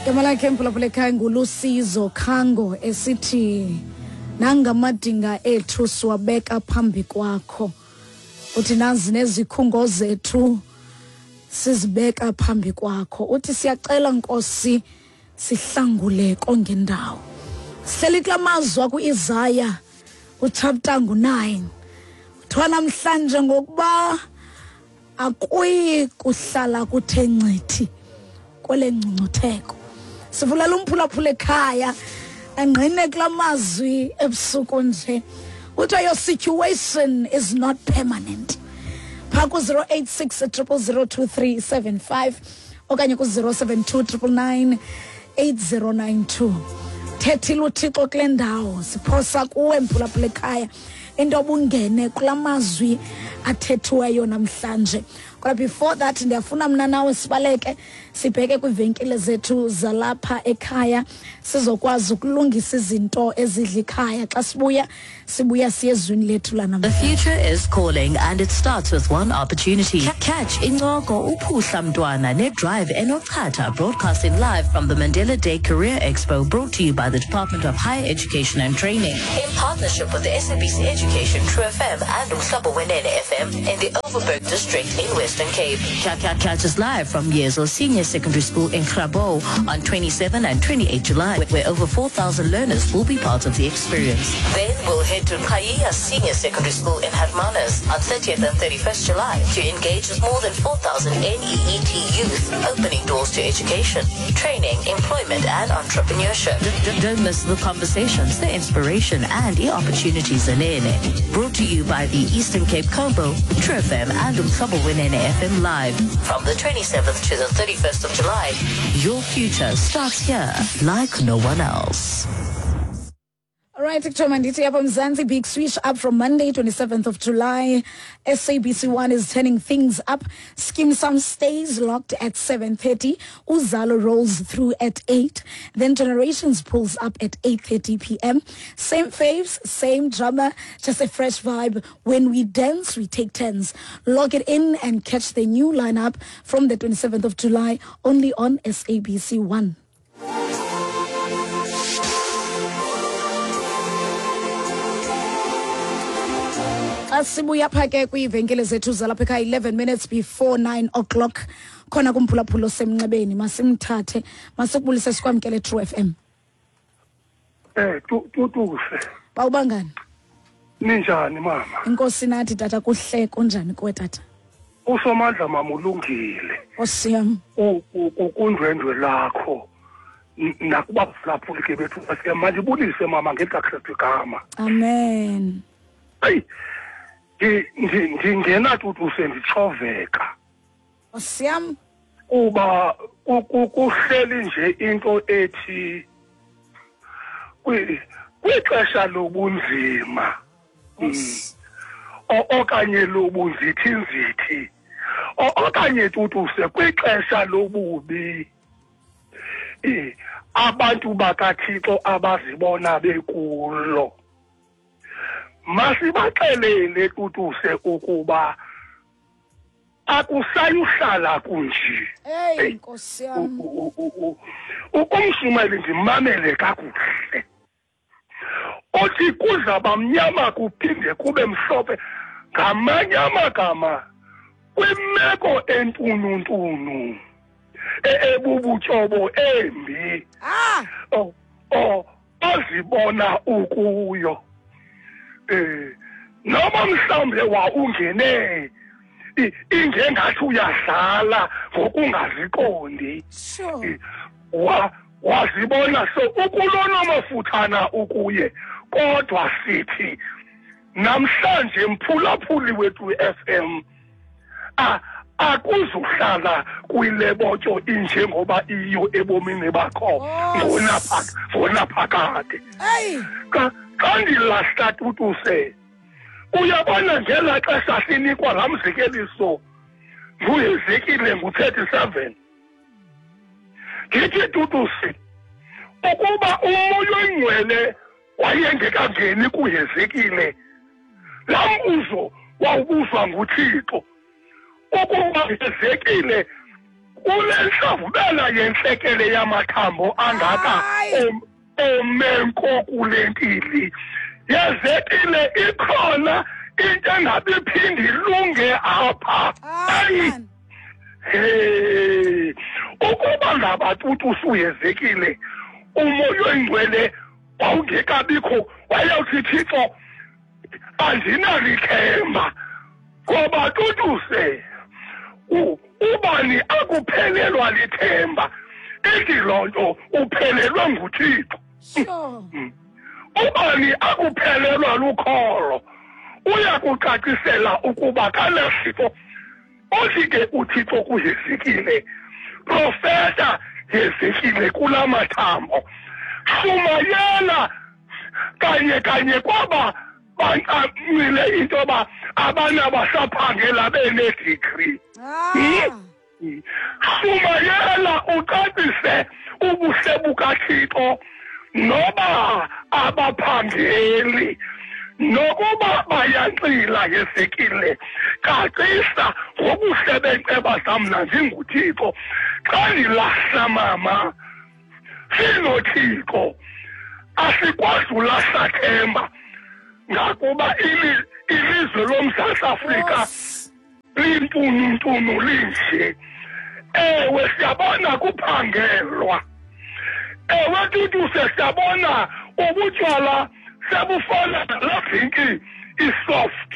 Igama lakhe mphulaphula ekhaya nguLusizo Khango esithi nangamadinga ethu siwabeka phambi kwakho. Uthi nazi nezikhungo zethu sizibeka phambi kwakho. Uthi siyacela Nkosi sihlangule kongendawo. Sihleli kula mazwi akuIsaya uchapter ngu-9. Kuthiwa namhlanje ngokuba akuyi kuhlala kuthe ncithi kwele ngcungcutheko. Sivulela umphulaphula ekhaya angqine kula mazwi ebusuku nje. Kuthiwa your situation is not permanent. Phaa ku-086 0002375 okanye ku-072 999 8092. Thethile uThixo kule ndawo, siphosa kuwe mphulaphula ekhaya into obungene kula mazwi athethiweyo namhlanje. Kodwa before that ndiyafuna mna nawe sibaleke sibheke kwiivenkile zethu zalapha ekhaya sizokwazi ukulungisa izinto ezidla ikhaya. Xa sibuya sibuya siye ezwini lethu The future is calling and it starts with one opportunity. Catch Incoko Uphuhla Mntwana ne-Drive Enochatha, broadcasting live from the Mandela Day Career Expo, brought to you by the Department of Higher Education and Training in partnership with the SABC Education, True FM and Umhlobo Wenene FM in the Overberg District in Western Cape. Catch us live from Yezo Senior Secondary School in Grabouw on 27 and 28 July, where over 4,000 learners will be part of the experience. Then we'll head to Qhayiya Senior Secondary School in Hermanus on 30th and 31st July to engage with more than 4,000 NEET youth, opening doors to education, training, employment and entrepreneurship. Don't miss the conversations, the inspiration and the opportunities in it. Brought to you by the Eastern Cape Combo, True FM and Umhlobo Wenene FM Live from the 27th to the 31st of July. Your future starts here like no one else. All right, kuthiwa mandithi apha Mzansi, big switch up from Monday, 27th of July. SABC1 is turning things up. Skeem Saam stays locked at 7:30. Uzalo rolls through at 8. Then Generations pulls up at 8:30 p.m. Same faves, same drama, just a fresh vibe. When we dance, we take turns. Log it in and catch the new lineup from the 27th of July only on SABC1. Xa sibuya pha ke kwiivenkile zethu zalapha ekhaya, 11 minutes before 9 o'clock, khona kumphulaphula osemnxebeni, masimthathe, masikubulise, sikwamkele True FM. Tutuse. Bawubangani? Ninjani mama? Inkosi nathi tata, kuhle. Kunjani kuwe tata? Usomandla mama ulungile. Nkosi yam. Kundwendwe lakho. Nakuba phulaphuli ke bethu sike mandibulise mama ngelikaKristu igama. Amen. Ayi ndingena tutuse ndichoveka. Nkosi yam. Kuba kuhleli nje into ethi kwixesha lobunzima okanye lobunzithinzithi okanye tutuse kwixesha lobubi, abantu bakaThixo abazibona bekulo, masibaxelele tutuse ukuba akusayuhlala kunje. Hey, Nkosi yam. Umshumayeli ndimamele kakuhle, othi kuzaba mnyama kuphinde kube mhlophe, ngamanye amagama kwimeko entununtunu ebubutshobo embi ozibona ukuyo, noma mhlawumbe wa ungene ingengathi uyadlala ngokungaziqondi, wazibona so ukulona mafuthana ukuye, kodwa sithi namhlanje mphulaphuli wethu FM akuzuhlala kuyilebotyo injengoba iyo ebomini bakho ngonaphakade. Xa ndilahla tutuse, uyabona ngelaa xesha sinikwa laa mzekeliso nguHezekile ngu-37, ndithi tutuse ukuba uMoya oyiNgcwele wayengekangeni kuHezekile, laa mbuzo wawubuzwa nguThixo ukuba Hezekile Kule ntlawubela yentlekele yamathambo angaka omenko kule ntili yezekile, ikhona into engabi iphinde ilunge apha. Hey, ukuba ngaba tutu usuyezekile, umoya oyingcwele wawungekabikho, wayewuthi Thixo andinalithemba, ngoba tutuse ubani akuphelelwa lithemba, ithi loo nto uphelelwe nguThixo. Ubani akuphelelwa lukholo, uyakucacisela ukuba kanasifo. Othi ke uThixo kuHezekile, profeta Hezekile kula mathambo, shumayela kanye kanye kwaba bancamile into yoba abana basaphangela benedegree. Shumayela ucacise ubuhle bukaThixo noba abaphangeli, nokuba bayanxila. Hezekile, cacisa ngobuhle benceba zam ndinguThixo. Xa ndilahla mama, sinoThixo, asikwazi ulahla themba, ngakuba ilizwe loMzantsi Afrika lintununtunu linje. Ewe, siyabona kuphangelwa. Ewe tutuse, siyabona ubutywala sebufana nalaa drinki isoft.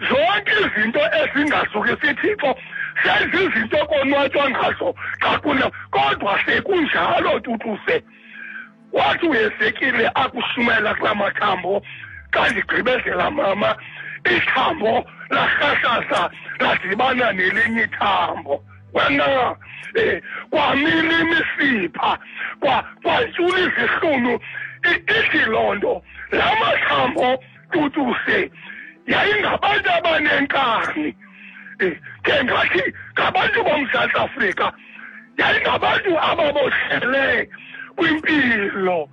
Zonke izinto ezingazukisi Thixo sezizinto konwatywa ngazo xa kuna, kodwa sekunjalo tutuse. Wathi uHezekile akushumayela kulaa mathambo, xa ndigqibezela mama, ithambo lahlahlaza ladibana nelinye ithambo. Wena kwamila imisipha, kwantshula izihlunu. Ithi loo nto laa mathambo tutuse yayingabantu abanenkani. Ke ngathi ngabantu boMzantsi Afrika, yayingabantu ababoshele kwimpilo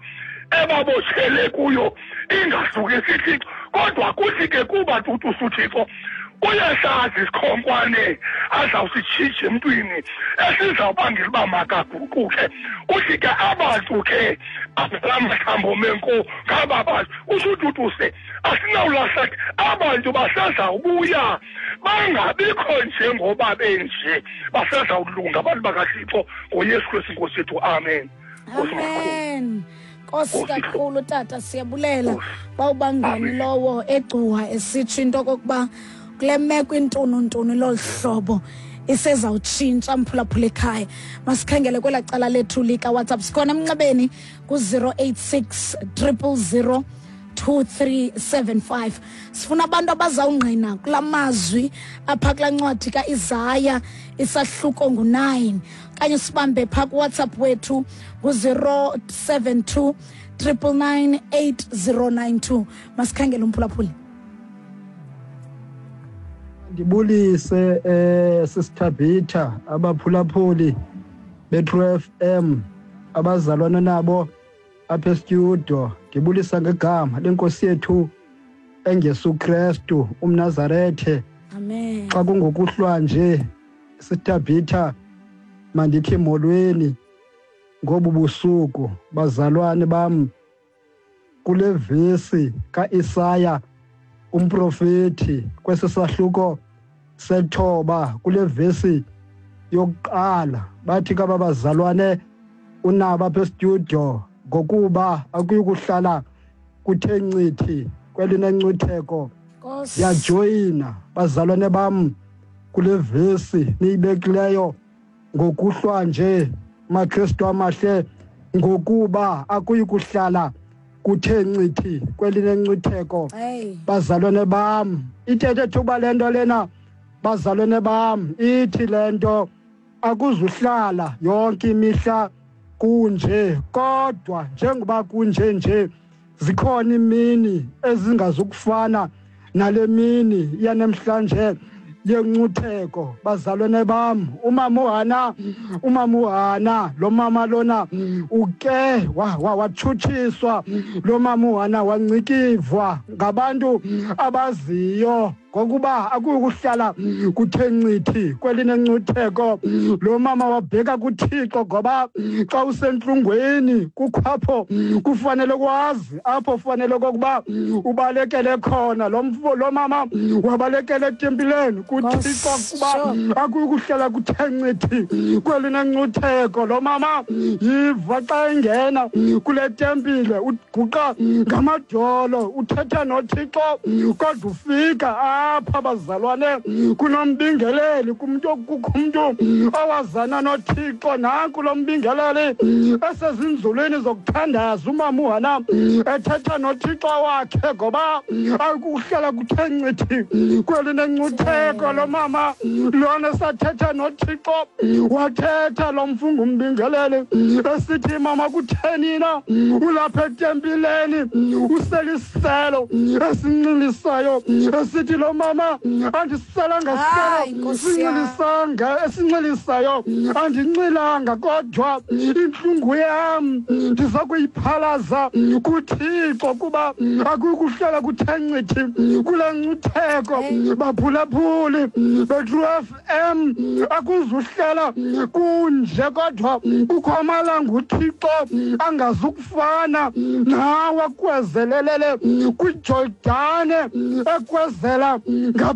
ebaboshele kuyo ingazukisi Thixo. Kodwa kuthi ke kuba tutusa uThixo uyasazi isikhonkwane azawusitshitsha emntwini esizawubangela uba makaguquke. Uthi ke abantu ke laa mathambo menko ngaba bantu, utsho ututuse asinawulahla, abantu basezawubuya bangabikho njengoba benje, basezawulunga abantu bakaThixo ngoYesu Kristu Nkosi yethu. Amen. Amen. Nkosi kakhulu tata, siyabulela. Bawubangani lowo egcuwa esitsho into okokuba kule meko intununtunu lolu hlobo isezawutshintsha. Mphulaphula ekhaya, masikhangele kwelaa cala lethu likaWhatsApp. Sikhona emnxebeni ku-086 000 2375. Sifuna abantu abazawungqina kula mazwi apha kulaa ncwadi kaIsaya isahluko ngu-9, okanye sibambe phaa kuWhatsApp wethu ngu-072 999 8092. Masikhangele umphulaphuli. Ndibulise sisithabitha abaphulaphuli beTrue FM, abazalwana nabo apha estudio. Ndibulisa ngegama lenkosi yethu engesu Kristu umNazarethe. Amen. Xa kungokuhlwa nje sithabitha, mandithi molweni ngobu busuku bazalwane bam. Kule vesi kaIsaya umprofeti kwesisahluko sethoba, kule vesi yokuqala, bathi kaba bazalwane unabo apha estudio, ngokuba akuyukuhlala kuthe ncithi kwelinencwitheko. Ndiyajoyina bazalwane bam kule vesi niyibekileyo ngokuhlwa nje, maKristu amahle, ngokuba akuyukuhlala kuthe ncithi kwelinencwitheko. Bazalwane bam, ithethe thuba le nto lena, bazalwane bam, ithi le nto akuzuhlala yonke imihla kunje, kodwa njengoba kunje nje zikhona imini ezingazukufana nale mini yanamhlanje yencutheko. Bazalwane bam, umama uHana, umama uHana, lo mama lona uke watshutshiswa, lo mama uHana wancikivwa ngabantu abaziyo. Ngokuba akukuhlala kuthe ncithi kwelinencutheko. Lo mama wabheka kuThixo, ngoba xa usentlungweni kukho apho kufanele kwazi apho kufanele kokuba ubalekele khona. Lo mama wabalekele etempileni kuThixo, kuba akukuhlala kuthe ncithi kwelinencutheko. Lo mama yiva xa engena kule tempile, uguqa ngamadolo, uthetha noThixo, kodwa ufika apha bazalwane kunombingeleli, kumntu kukho umntu owazana noThixo. Nanku lo mbingeleli esezinzulwini zokuthandaza, umama uHana ethetha noThixo wakhe, ngoba akuhlala kuthe ncithi kwelinencutheko. Lo mama lona sathetha noThixo, wathetha lo mfungu umbingeleli esithi, mama kutheni na ulapha etempileni useliselo esinxilisayo? Esithi lo mama, andiselanga selo sinxilisanga esinxilisayo, andinxilanga, kodwa intlungu yam ndiza kuyiphalaza kuThixo, kuba akukuhlala kuthe ncithi kule ncutheko. Baphulaphuli beTrue FM, akuzuhlala kunje, kodwa kukho amalanga uThixo angazukufana nawe akwezelelele kwiJordane, ekwezela ngapha.